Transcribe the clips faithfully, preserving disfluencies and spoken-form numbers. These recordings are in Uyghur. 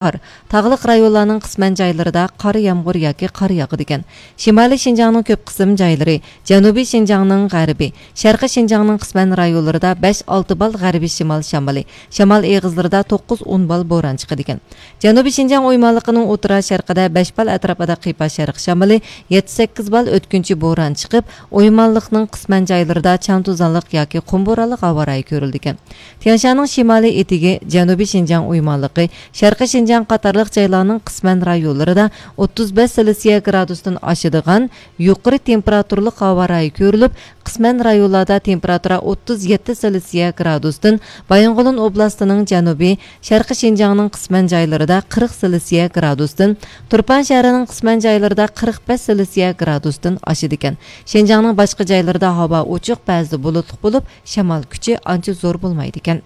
قار، تاغلىق رايونلارنىڭ قىسمەن جايلىرىدا قار يامغۇر ياكى قار ياغىدىكەن. شىمالىي شىنجاڭنىڭ كۆپ قىسىم جايلىرى، جەنۇبىي شىنجاڭنىڭ غەربى، شەرقىي شىنجاڭنىڭ قىسمەن رايونلىرىدا بەش ئالتە بال غەربىي شىمال شامىلى، شامال ئېغىزلىرىدا توققۇز ئون بال بوران چىقىدىكەن. جەنۇبىي شىنجاڭ ئويمانلىقىنىڭ ئوتتۇرا شەرقىدە بەش بال ئەتراپىدا قىيپاش شەرق شامىلى، يەتتە سەككىز بال ئۆتكۈنچى بوران چىقىپ، ئويمانلىقنىڭ قىسمەن جايلىرىدا چاڭ توزانلىق ياكى قۇم بورانلىق ھاۋا رايى كۆرۈلىدىكەن. تيەنشاننىڭ شىمالىي ئېتىكى، جەنۇبىي شىنجاڭ ئويمانلىقى، شەرقىي شىنجاڭ قاتارلىق جايلارنىڭ قىسمەن رايونلىرىدا ئوتتۇز بەش سېلسىيە گرادۇستىن ئاشىدىغان يۇقىرى تېمپېراتۇرىلىق ھاۋا رايى كۆرۈلۈپ، قىسمەن رايونلاردا تېمپېراتۇرا ئوتتۇز يەتتە سېلسىيە گرادۇستىن، بايىنغولىن ئوبلاستىنىڭ جەنۇبى، شەرقىي شىنجاڭنىڭ قىسمەن جايلىرىدا قىرىق سېلسىيە گرادۇستىن، تۇرپان شەھىرىنىڭ قىسمەن جايلىرىدا قىرىق بەش سېلسىيە گرادۇستىن ئاشىدىكەن. شىنجاڭنىڭ باشقا جايلىرىدا ھاۋا ئوچۇق، بەزىدە بۇلۇتلۇق بولۇپ، شامال كۈچى ئانچە زور بولمايدىكەن.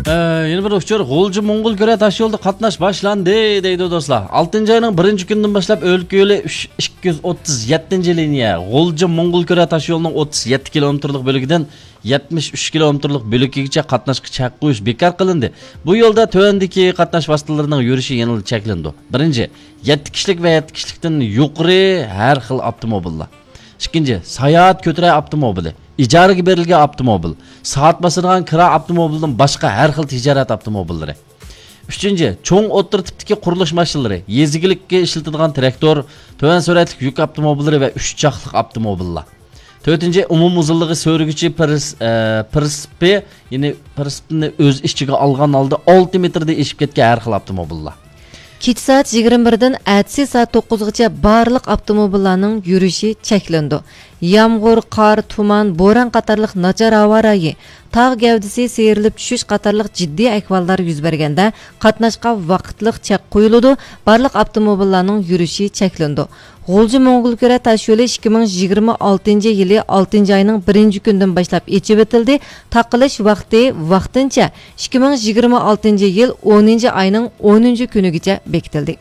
ئە، يەنە بىر ئۇچۇر، غۇلجا موڭغۇل كۆرە تاشيولىدا قاتناش باشلاندى، دەيدۇ دوستلار. ئالتىنچى ئاينىڭ بىرىنچى كۈنىدىن باشلاپ ئۆلكە يولى ئۈچ، ئىككى يۈز ئوتتۇز يەتتىنچى لىنىيە، غۇلجا موڭغۇل كۆرە تاشيولىنىڭ ئوتتۇز يەتتە كىلومېتىرلىق بۆلىكىدىن يەتمىش ئۈچ كىلومېتىرلىق بۆلىكىگىچە قاتناشقا چەك قويۇش بىكار قىلىندى. بۇ يولدا تۆۋەندىكى قاتناش ۋاسىتىلىرىنىڭ يۈرۈشى يەنىلا چەكلىنىدۇ. بىرىنچى، يەتتە كىشىلىك ۋە يەتتە كىشىلىكتىن يۇقىرى ھەر خىل ئاپتوموبىللار. ئىككىنچى، ساياھەت كۆتۈرە ئاپتوموبىلى، ئىجارىگە بېرىلگەن ئاپتوموبىل، سائەت باسىدىغان كىرا ئاپتوموبىلىدىن باشقا ھەر خىل تىجارەت ئاپتوموبىللىرى. ئۈچىنچى، چوڭ ئوتتۇرا تىپتىكى قۇرۇلۇش ماشىنىلىرى، يېزا ئىگىلىككە ئىشلىتىدىغان تىراكتور، تۆۋەن سۈرئەتلىك يۈك ئاپتوموبىللىرى ۋە ئۈچ چاقلىق ئاپتوموبىللار. تۆتىنچى، ئومۇم ئۇزۇنلۇقى سۆرىگۈچى پىرس-، ئە، پىرسىپى، يەنى پىرسىپنى ئۆز ئىچىگە ئالغان ھالدا ئالتە مېتىردىن ئېشىپ كەتكەن ھەر خىل ئاپتوموبىللار. كېچە سائەت يىگىرمە بىردىن ئەتىسى سائەت توققۇزغىچە بارلىق ئاپتوموبىللارنىڭ يۈرۈشى چەكلىنىدۇ. يامغۇر، قار، تۇمان، بوران قاتارلىق ناچار ھاۋا رايى، تاغ گەۋدىسى سىيرىلىپ چۈشۈش قاتارلىق جىددىي ئەھۋاللار يۈز بەرگەندە، قاتناشقا ۋاقىتلىق چەك قويۇلىدۇ، بارلىق ئاپتوموبىللارنىڭ يۈرۈشى چەكلىنىدۇ. غۇلجا موڭغۇل كۆرە تاشيولى ئىككى مىڭ يىگىرمە ئالتىنچى يىلى ئالتىنچى ئاينىڭ بىرىنچى كۈنىدىن باشلاپ ئېچىۋېتىلدى. تاقىلىش ۋاقتى ۋاقتىنچە ئىككى مىڭ يىگىرمە ئالتىنچى يىل ئونىنچى ئاينىڭ ئونىنچى كۈنىگىچە بېكىتىلدى.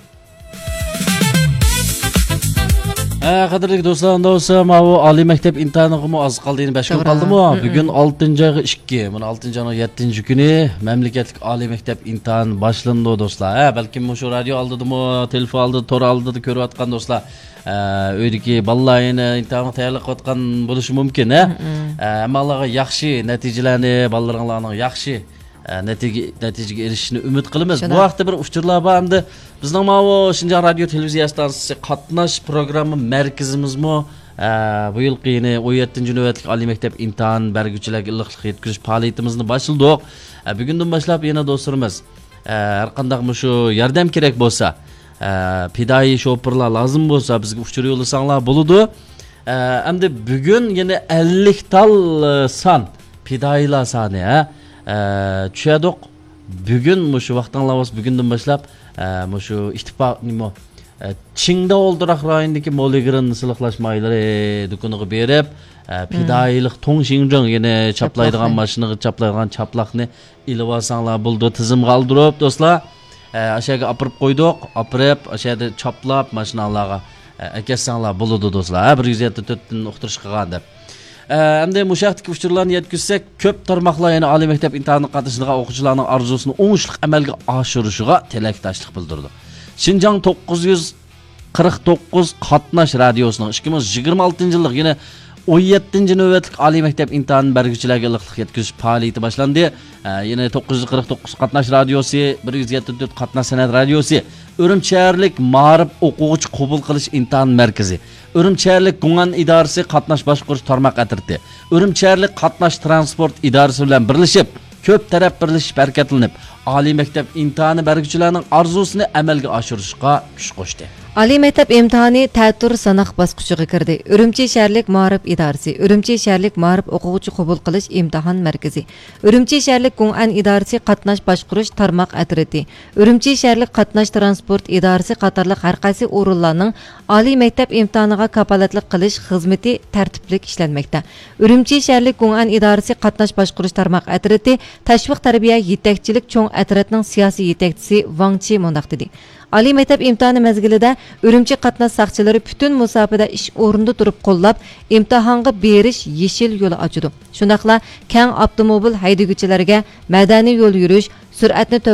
ھە، قەدىرلىك دوستلار، ئۇنداق بولسا، ماۋۇ ئالىي مەكتەپ ئىمتىھانىغىمۇ ئاز قالدى، يەنە بەش كۈن توغرا. قالدىمۇ؟ مم، بۈگۈن مم. ئالتىنچى ئايغا ئىككى، مانا ئالتىنچى ئاينىڭ يەتتىنچى كۈنى مەملىكەتلىك ئالىي مەكتەپ ئىمتىھانى باشلىنىدۇ، دوستلار. ھە، بەلكىم مۇشۇ رادىيو ئالدىدىمۇ، تېلېفون ئالدىدا، تور ئالدىدا كۆرۈۋاتقان دوستلار، ئە، ئۆيدىكى بالىلار يەنە ئىمتىھانغا تەييارلىق قىلىۋاتقان بولۇشى مۇمكىن، ھە؟ مم، مم. ئە، ھەممىڭلارغا ياخشى نەتىجىلەرنى، بالىلىرىڭلارنىڭ ياخشى، ئە، نەتىجە-، نەتىجىگە ئېرىشىشىنى ئۈمىد قىلىمىز. بۇ شۇنداق. ھەقتە بىر ئۇچۇرلار بار ئەمدى. بىزنىڭ ماۋۇ شىنجاڭ رادىيو تېلېۋىزىيە ئىستانسىسى قاتناش پروگرامما مەركىزىمىزمۇ، ئە، بۇ يىلقى يەنە ئون يەتتىنچى نۆۋەتلىك ئالىي مەكتەپ ئىمتىھان بەرگۈچىلەرگە ئىللىقلىق يەتكۈزۈش پائالىيىتىمىزنى باشلىدۇق. ئە، بۈگۈندىن باشلاپ يەنە دوستلىرىمىز، ئە، ھەر قانداق مۇشۇ ياردەم كېرەك بولسا، ئە، پىدائىي شوپۇرلار لازىم بولسا، بىزگە ئۇچۇر يوللىساڭلار بولىدۇ. ئە، ئەمدى بۈگۈن يەنە ئەللىك تال، ئە، سان، پىدائىيلار سانى، ھە؟ ئە، چۈشەدۇق. بۈگۈن مۇشۇ ۋاقتىڭلار بولسا، بۈگۈندىن باشلاپ، ئە، مۇشۇ ئىتتىپاق، نېمە، ئە، چىڭداۋ ئولتۇراق رايونىدىكى مولىگرېن سىلىقلاش مايلىرى دۇكىنىغا بېرىپ، ئە، مم. پىدائىيلىق توڭ شىڭجۇڭ، يەنى چاپلايدىغان چاپلاقنى. ماشىنىغا چاپلايدىغان چاپلاقنى ئېلىۋالساڭلار بولىدۇ، تىزىمغا ئالدۇرۇپ، دوستلار. ئە، ئاشۇ يەرگە ئاپىرىپ قويدۇق، ئاپىرىپ، ئاشۇ يەردە چاپلاپ، ماشىناڭلارغا، ئە، ئەكەتسەڭلار بولىدۇ، دوستلار. ھە، بىر يۈز يەتتە تۆتتىن ئۇقتۇرۇش قىلغان دەپ. ئە، ئەمدى مۇشۇ ھەقتىكى ئۇچۇرلارنى يەتكۈزسەك، كۆپ تارماقلار يەنە ئالىي مەكتەپ ئىمتىھانىغا قاتنىشىدىغان ئوقۇغۇچىلارنىڭ ئارزۇسىنى ئوڭۇشلۇق ئەمەلگە ئاشۇرۇشىغا تىلەكداشلىق بىلدۈرىدۇ. شىنجاڭ توققۇز يۈز قىرىق توققۇز قاتناش رادىيوسىنىڭ ئىككى مىڭ يىگىرمە ئالتىنچى يىللىق يەنە ئون يەتتىنچى نۆۋەتلىك ئالىي مەكتەپ ئىمتىھان بەرگۈچىلەرگە ئىللىقلىق يەتكۈزۈش پائالىيىتى باشلاندى. ئە، يەنە توققۇز يۈز قىرىق توققۇز قاتناش رادىيوسى، بىر يۈز يەتتە تۆت قاتناش سەنئەت رادىيوسى، ئۈرۈمچى شەھەرلىك مائارىپ ئوقۇغۇچى قوبۇل قىلىش ئىمتىھان مەركىزى، ئۈرۈمچى شەھەرلىك گۇڭئەن ئىدارىسى قاتناش باشقۇرۇش تارماق ئەترىتى، ئۈرۈمچى شەھەرلىك قاتناش تىرانسپورت ئىدارىسى بىلەن بىرلىشىپ، كۆپ تەرەپ بىرلىشىپ ھەرىكەتلىنىپ، ئالىي مەكتەپ ئىمتىھانى بەرگۈچىلەرنىڭ ئارزۇسىنى ئەمەلگە ئاشۇرۇشقا كۈچ قوشتى. ئالىي مەكتەپ ئىمتىھانى تەتۈر سىناق باسقۇچىغا كىردى. ئۈرۈمچى شەھەرلىك مائارىپ ئىدارىسى، ئۈرۈمچى شەھەرلىك مائارىپ ئوقۇغۇچى قوبۇل قىلىش ئىمتىھان مەركىزى، ئۈرۈمچى شەھەرلىك گۇڭئەن ئىدارىسى قاتناش باشقۇرۇش تارماق ئەترىتى، ئۈرۈمچى شەھەرلىك قاتناش تىرانسپورت ئىدارىسى قاتارلىق ھەرقايسى ئورۇنلارنىڭ ئالىي مەكتەپ ئىمتىھانىغا كاپالەتلىك قىلىش خىزمىتى تەرتىپلىك ئىشلەنمەكتە. ئۈرۈمچى شەھەرلىك گۇڭئەن ئىدارىسى قاتناش باشقۇرۇش تارماق ئەترىتى تەشۋىق تەربىيە يېتەكچىلىك چوڭ ئەترىتىنىڭ سىياسىي يېتەكچىسى ۋاڭ چى مۇنداق دېدى: ئالىي مەكتەپ ئىمتىھانى مەزگىلىدە ئۈرۈمچى قاتناش ساقچىلىرى پۈتۈن مۇساپىدە ئىش ئورنىدا تۇرۇپ قوللاپ، ئىمتىھانغا بېرىش يېشىل يولى ئاچىدۇ. شۇنداقلا كەڭ ئاپتوموبىل ھەيدىگۈچىلەرگە مەدەنىي يول يۈرۈش، سۈرئەتنى